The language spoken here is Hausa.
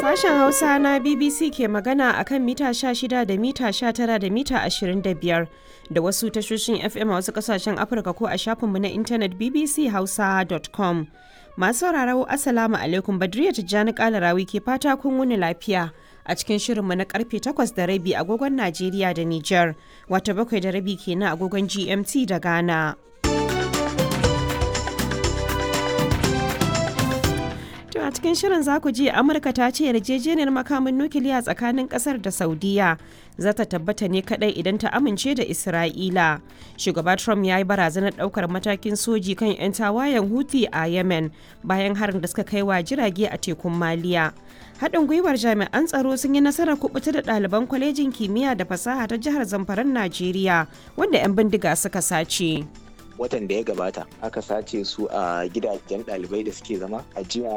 Sashen Hausa na BBC ke magana a kan mita 16 da mita 19 da mita 25 da wasu tashoshin FM a wasu kasashen Afirka ko a shafinmu na intanet bbchausa.com. Masu sauraro, Assalamu alaikum, Badriya Tijjani Kalarawi ke fata kun wuni lafiya a cikin shirinmu na karfe 8:30 agogon Najeriya da Nijar, wata 7:30 kenan agogon GMT da Ghana. To, a cikin shirin za ku ji Amurka ta ce yarjejeniyar makamin nukiliya tsakanin kasar da Saudiya za ta tabbata ne kadai idan ta amince da Isra'ila. Shugaba Trump ya yi barazanar daukar matakin soji kan 'yan tawayen Houthi a Yemen bayan harin da suka kai wa jirage a tekun Maliya. Haɗin gwiwar jami'an tsaro sun yi nasarar kubuta da ɗaliban kwalejin kimiyya da fasaha ta jihar Zamfaran Najeriya wanda 'yan bindiga suka sace. Watan da ya gabata aka sace su a gidajen ɗalibai da suke zama a jiya.